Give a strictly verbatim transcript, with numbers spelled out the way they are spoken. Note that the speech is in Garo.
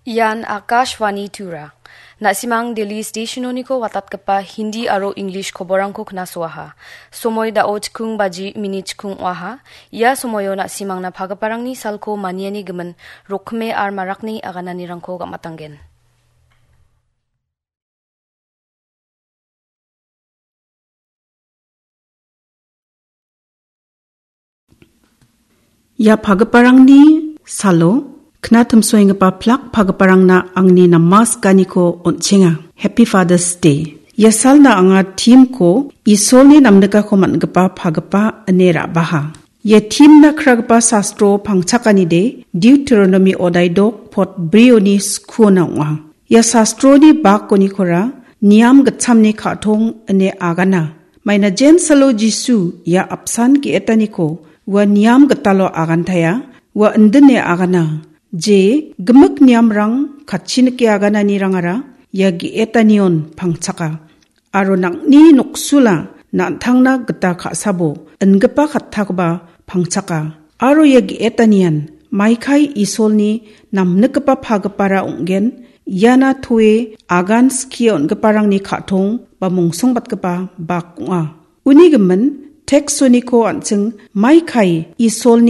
Ian Akashvani Tura. Na·simang Delhi stationoniko watatgipa Hindi aro English koborangko knasoaha. Somoi dao chikung baji minit chikung oaha. Ia somoio na·simangna pagiparangni salko maniani gimin rokkime ar marakni agananirangko gamatanggen. Ia pagiparangni salo knatimsoenggipa plak pagiparangna angni namaskaniko on·chenga. Happy Father's Day. Ia salna anga theme-ko Isolni namnikako man·gipa pagipa ine ra·baha. Ia theme-na kragipa sastro pangchakanide Deuteronomy odaidok pot brioni skuona ong·a. Ia sastroni bakonikora niam gitchamni ka·tong ine agana. Maina jensalo Jisu ia apsan ge·etaniko ua niam gitalo agantaia, ua indine agana. Je gimik niamrang katchinike agananirangara ia ge·etanion pangchaka. Aro nang·ni noksula na·tangna gita ka·sabo ingipa kattakoba pangchaka. Aro ia ge·etanian maikai Isolni namnikgipa pagipara ong·gen, iana toe agan skie on·giparangni ka·tong ba mongsongbatgipa bak ong·a. Uni gimin teksoniko an·ching maikai Isolni